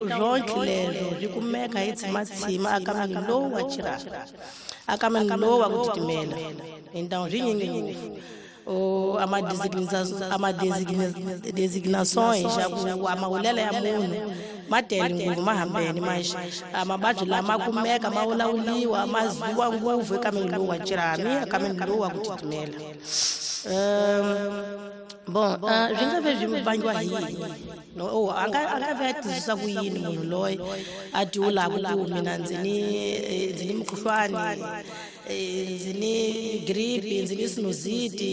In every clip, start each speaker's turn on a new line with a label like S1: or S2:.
S1: Swonke leswo swi kumeka hi tshimatshima akameni lowu wa chirhami, akameni lowu wa ku titimela. Então swi nyingi ngopfu ama designações ya ku amahulelo ya munhu ma tele ngopfu, ma hambene, mas mavabyi lama kumeka ma vulavuriwa, ma ziviwa ngopfu ekameni lowu wa chirhami, akameni lowu wa ku titimela. Bon, swi nga ve swi vangiwa hi yini? No, oh, a nga ve a twisisa ku yini munhu loyi a tiwulaku ku mina ndzi ni mukhuhlwani, ndzi ni gripe, ndzi ni sinusite,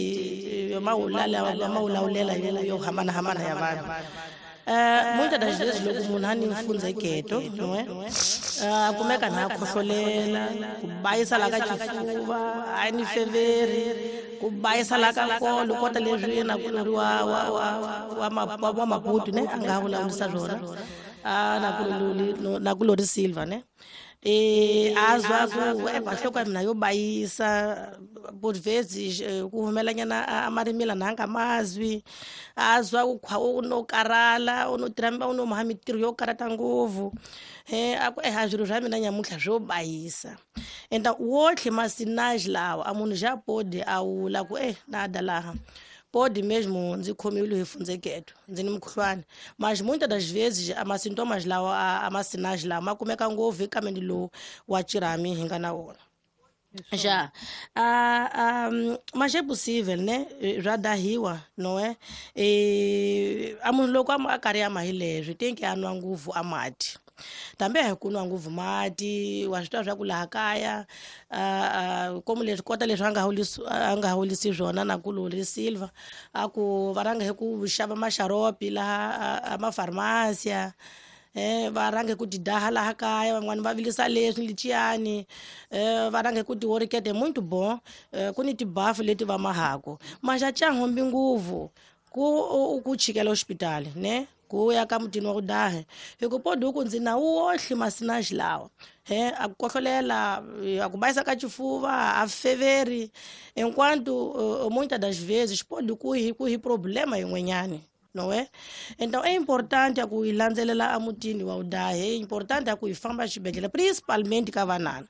S1: mawulawulela yo hambanahambana ya vanhu? Muitas das vezes loko munhu a ni mfundzeketo, não é, a kumeka na khohlolela, ku bayisa la ka xifuva, a ni feveri, ku bayisa la ka nkolo, kota leswi yena kulori wa Maputo ne a nga vulavurisa swona, a nakulori Silva ne, a zwa ku nhloko ya mina yo bayisa, por vezes ku humelanyana a marimila na nga mazwi, a zwa ku khwa u no karhala, u no tirha, u no maha mintirho yo karata ngopfu, a ku a swilo swa mina nyamuntlha swo bayisa. Então wotlhe masinage lawa a munhu já pode a wula ku nada laha pode mesmo ndzi khomiwile hi fundzeketo, ndzi ni mukhuhlwani, mas muitas das vezes ama-sintomas lawa, ama-sinais lawa ma kumeka ngopfu ekameni lowu wa chirhami hi nga na wona já. Mas é possível, né, swa dahiwa, não é? A munhu loko a karhi ama hi leswi tem que a nwa ngopfu a mati, tambe hi ku nwa ngopfu mati, wa swi tiva swa ku laha kaya komu leswi kota leswi a nga hulisi swona na kulori Silva, a ku va rhanga hi ku xava maxaropi laha a mafarmasia, va rhange ku ti daha laha kaya, van'wani va vilisa leswi liciyani, va rhange ku ti worikete muito bom, ku ni tibafu leti va mahaku, mas a chahombi nguvu ku chikela hospitali ne ku ya ka mutini wa ku daha, hi ku podi ku ndzi na wohle masinaji lawa, he a ku kohlolela, a ku bayisa ka xifuva, a feveri, enquanto muitas das vezes pode ku hi problema yin'wanyani, não é? Então é importante a ku hi landzelela emutini wa udahe, é importante a ku hi famba xibedhlele, principalmente ka vanana.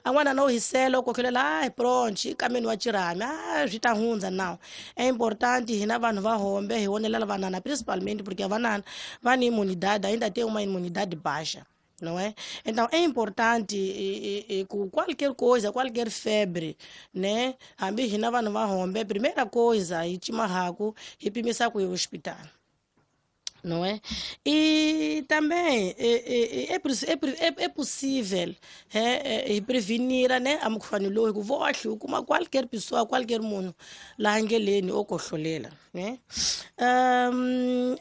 S1: A n'wana no hisela, u kohlolela, hayi pronto, i kameni wa chirhami, a swi ta hundza. Now é importante hina vanhu va hombe hi vonelela vanana principalmente, porque vanana va ni imunidade, ainda tem uma imunidade baixa, não é? Então é importante ku qualquer coisa, qualquer febre, né? Hambi hina vanhu va hombe, primeira coisa hi cimahaku hi pimisa ku hi hospital, não é? E também é possível hi prevenir, né, a mukhuhlwani lowu, hi ku vohle u kuma qualquer pessoa, qualquer munhu laha ndleleni o kohlolela, né?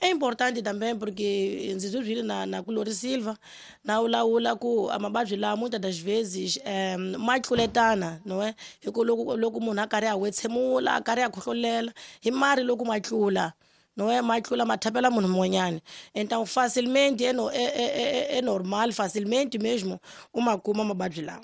S1: É importante também porque ndzi swi na kulori Silva na vulavula ku a mavabyi lawa muitas das vezes ma tluletana, não é? Hi ku loko munhu a karhi a wetshemula, a karhi a khohlolela hi mari, loko ma tlula, não é, ma tlula ma thapela munhu mun'wanyana, então facilmente é, no, é, é, é, é normal, facilmente mesmo u ma kuma mavabyi lawa,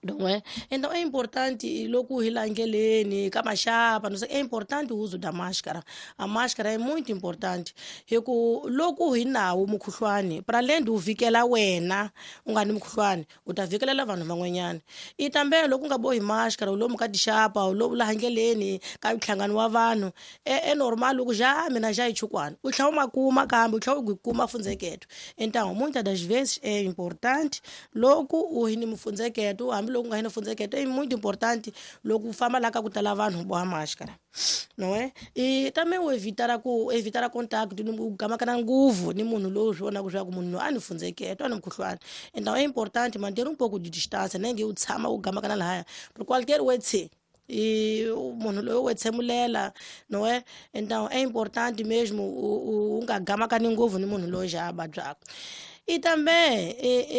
S1: não é? Então é importante loko hi la ndleleni ka maxapa, não sei, é importante o uso da máscara. A máscara é muito importante hi ku loko hi nawo mukhuhlwani, para além de u vikela wena u nga ni mukhuhlwani, u ta vikelela vanhu van'wanyana. I tambe loko u nga bohi máscara, u lomu ka tixapa, u lomu laha ndleleni ka nhlangano wa vanhu, é normal ku já mina já hi chukwana, u tlhela u ma kuma, kambe u tlhela u kuma fundzeketo. Então muitas das vezes é importante loko u hi ni mufundzeketo, hambi loko u nga hi ni fundzeketo, é muito importante loko u famba laha ka ku tala vanhu u boha máscara, não é? E também u evitar ku evitar contato ni u gamakana nguvu ni munhu lowu swi vonaka swa ku munhu loyi a ni fundzeketo, a ni mukhuhlwani. Então é importante manter um pouco de distância, nem nge u tshama u gamakana lahaya, por qualquer wetse e munhu loyi u wetsemulela, não é? Então é importante mesmo u nga gamakani ngopfu ni munhu loyi xa a vabyaka. I também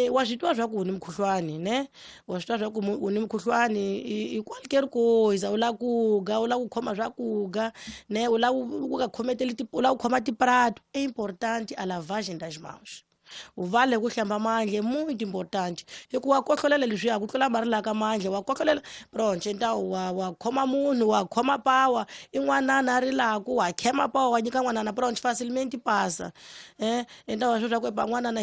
S1: wa swi twa swa ku u ni mukhuhlwani, ne, wa swi twa swa ku u ni mukhuhlwani, i qualquer coisa, u lava ku ga, u lava ku khoma swakudya, ne, u lava ku nga khometeli, u lava ku khoma tiprato, é importante a lavagem das mãos, u vale ku hlamba mandla, é muito importante, hikuva wa kohlolela leswiya ku tlula mari laha ka mandla, wa kohlolela, pronto, então wa khoma munhu, wa khoma pawa, i n'wanana a rilaku, wa khema pawa, wa nyika n'wanana, pronto, facilmente passa, então wa swi swa ku epa n'wanana.